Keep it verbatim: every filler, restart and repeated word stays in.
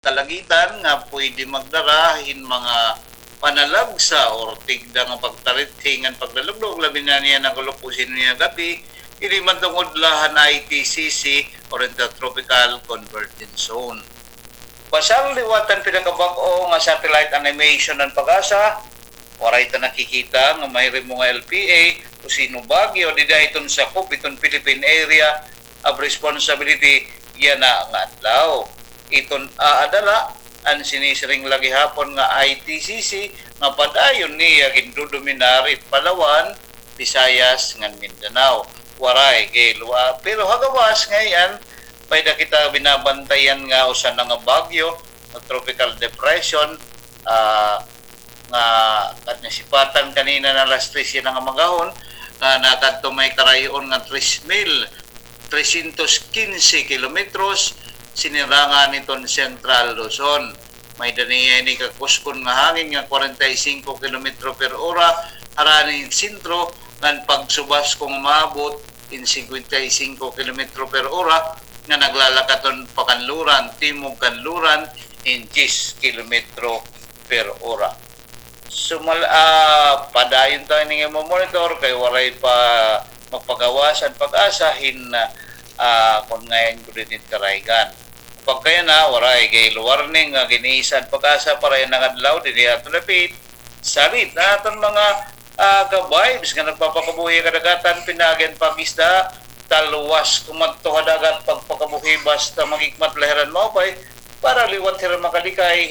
kalagitan nga pwede magdara hin mga panalagsa or tigda nga pagtarithi ngan paglalugdog, labi na niyan nga kulop-usin niyan gab-i, diri man tungod la han I T C C or Intertropical Convergence Zone. Basal liwat han pinakabag-o nga satellite animation han PAGASA, waray ta nakikita nga mahirimo nga L P A o sino bagyo dida hiton sakop hiton Philippine Area of Responsibility yana nga adlaw. Iton aada la an sinisiring la gihapon nga I T C C nga padayon niya gindodominar it Palawan, Visayas, ngan Mindanao. Waray, kay luwa. Pero ha gawas ngay-an, may-ada kita binabantayan nga usa na nga bagyo, nga tropical depression, ah, nga kanisipatan kanina na alas tres yana nga magahon, nga nakadto may karayo-on nga tres mil trescientos quince kilometros, sinirangan hiton Central Luzon. May-ada niya ini kakuskon nga hangin nga kwarenta y singko kilometro per ora, harani hin sentro, ngan pagsubas kon maabot hin singkwenta y singko kilometro per ora, nga naglalakat hiton pakanluran, timog kanluran, hin diyes kilometro per ora. Sumal-, ah, padayon ta ini nga mo-monitor kay waray pa magpagawas an PAGASA hin, ah, kon ngayon gud ini karaygan. Pagkayana, waray kay warning nga gin-iisa an PAGASA para yana nga adlaw dinhi ha aton dapit. Salit ha aton mga, ah, ka-vibes nga nagpapakabuhi ha kadagatan, pinaagi an pag-isda, talwas kumadto ha dagat pagpakabuhi basta maghikmat la hira hin maupay para liwat hira makalikay